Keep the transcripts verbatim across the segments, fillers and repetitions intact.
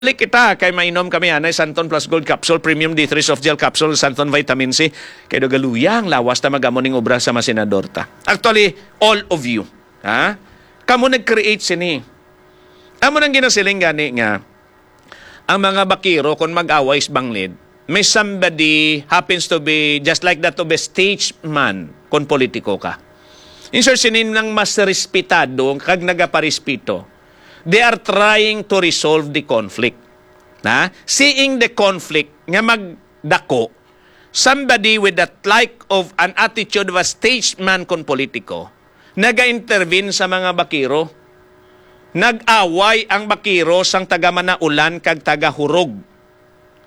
Balik kita kay mainom kami anay Santon Plus Gold Capsule, Premium D three Soft Gel Capsule, Santon Vitamin C. Kay do galuya ang lawas ta magamo ning obra sa mga senador ta. Actually, all of you. Ha? Kamo nag-create sini. Amo nang ginasiling gani nga ang mga bakiro, kung mag-away sa banglid, may somebody happens to be just like that of a statesman kung politiko ka. In short, sini nang mas respetado kag nagaparespito. They are trying to resolve the conflict. Na? Seeing the conflict nga magdako, somebody with that like of an attitude of a statesman kung politiko, naga-intervene sa mga bakiro. Nag-away ang bakiro sang taga Manaulan kag taga Hurog.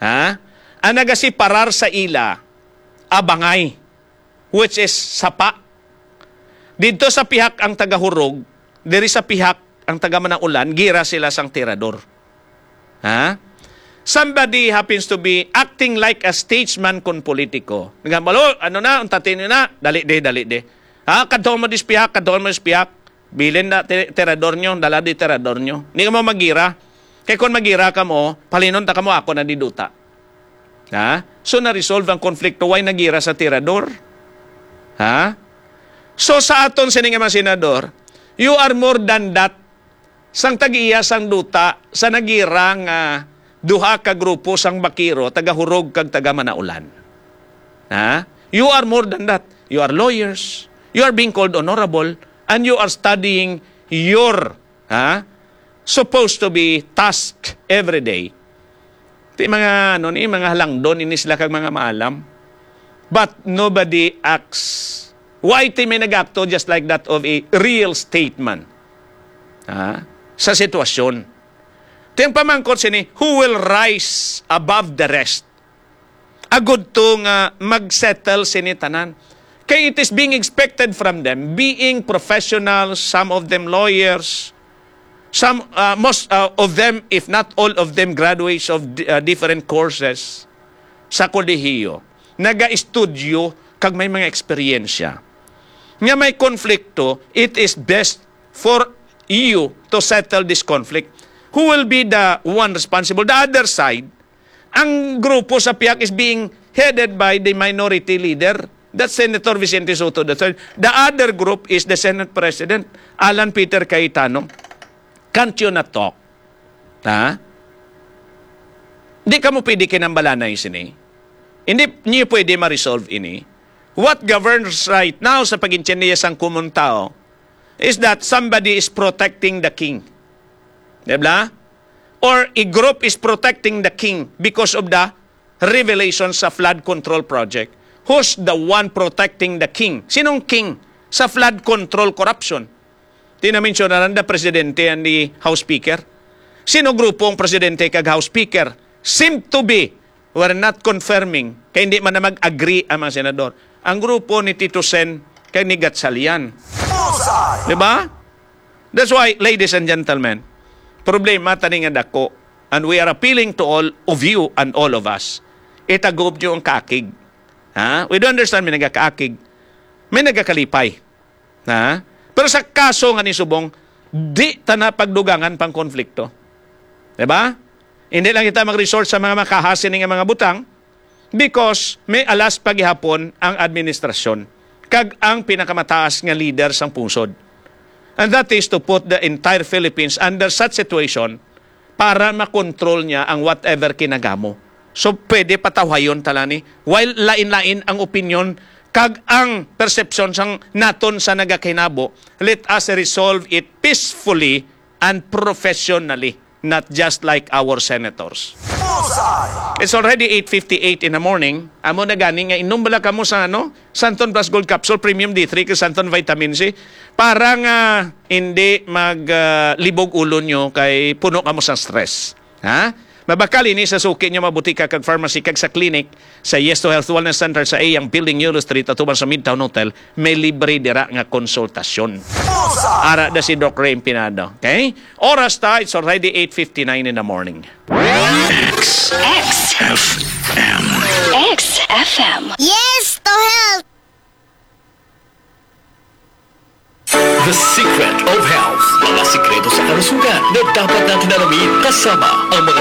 Ha? Ang nagasiparar sa ila, abangay, which is sapa. Didto sa pihak ang taga Hurog, diri sa pihak ang taga Manaulan, gira sila sang tirador. Ha? Somebody happens to be acting like a statesman kon politiko. Nga, "Malo, ano na, untatin nyo na, dali de, dali de. Ha, kadto mo dis pihak, kadto mo dis pihak. Bilin na ti-, tirador nyo, dala di tirador nyo." Hindi ka mo magira. Kay kung magira ka mo, palinon ta ka mo, ako na diduta. Ha? So, na-resolve ang konflikto. Why nagira sa tirador? Ha? So, sa aton sini nga mga senador, you are more than that. Sang tag-iya sang duta, sa nagira nga duha ka grupo sang bakiro, taga Hurog kag taga Manaulan. Ha? You are more than that. You are lawyers. You are being called honorable. And you are studying your, ha? Supposed to be task every day. Ti mga, ano ni, mga halangdon ini sila kag mga maalam. But nobody acts. Why ti may nag-akto just like that of a real statesman? Ha? Sa sitwasyon. Ti ang pamangkot sini, who will rise above the rest? Agud to nga mag-settle sini tanan. Kay it is being expected from them, being professional, some of them lawyers, some, uh, most, uh, of them, if not all of them, graduates of di-, uh, different courses sa kolehiyo. Naga-estudyo kag may mga eksperyensya. Nga may konflikto, it is best for you to settle this conflict. Who will be the one responsible? The other side, ang grupo sa pihak is being headed by the minority leader. That's Senator Vicente Sotto the third. The other group is the Senate President, Alan Peter Cayetano. Can't you not talk? Ha? Di ka mo pwede kinambalanay sini. Hindi niyo pwede ma-resolve ini. What governs right now sa pag-intindiya sang common tao is that somebody is protecting the king. Di ba? Or a group is protecting the king because of the revelation sa flood control project. Who's the one protecting the king? Sinong king sa flood control corruption? Tinamensyonaran the presidente and the House Speaker. Sino grupo ang presidente kag House Speaker? Seem to be, we're not confirming, kay hindi man na mag-agree ang mga senador. Ang grupo ni Tito Sen kay ni Gatchalian. Di ba? That's why, ladies and gentlemen, problema tani nga dako, and we are appealing to all of you and all of us. Itagob nyo ang kaakig. Ha? We do understand may nagakaakig. May nagakalipay. Ha? Pero sa kaso nga ni subong, di ta na pagdugangan pang konflikto. Di ba? Hindi lang kita mag-resort sa mga makahas ini nga mga butang because may alas pa gihapon ang administrasyon kag ang pinakamataas nga leader sang pungsod. And that is to put the entire Philippines under such situation para makontrol niya ang whatever kinagamo. So, pwede patawhayon tala ni. While lain-lain ang opinyon kag ang persepsyon sang naton sa nagakinabo, let us resolve it peacefully and professionally, not just like our senators. It's already eight fifty-eight in the morning. Amo na gani nga inom bala kamo sa, ano, Santon Plus Gold Capsule, Premium D three, kag Santon Vitamin C, para nga hindi mag, ah, libog ulo nyo kay puno kamo sa stress. Ha? Mabakal ini sa suki nyo, mga butika kag pharmacy, kag sa clinic sa Yes to Health Wellness Center sa iyang building, Euro Street, atuban sa Midtown Hotel. May libre dira nga konsultasyon. Ara da si Doc Ray Empinado. Okay? Oras ta, it's already eight fifty-nine in the morning. X. X. F M. X F M. Yes to health. The Secret of Health. Mga sikreto sa kalusugan na dapat natin alamin, kasama ang mga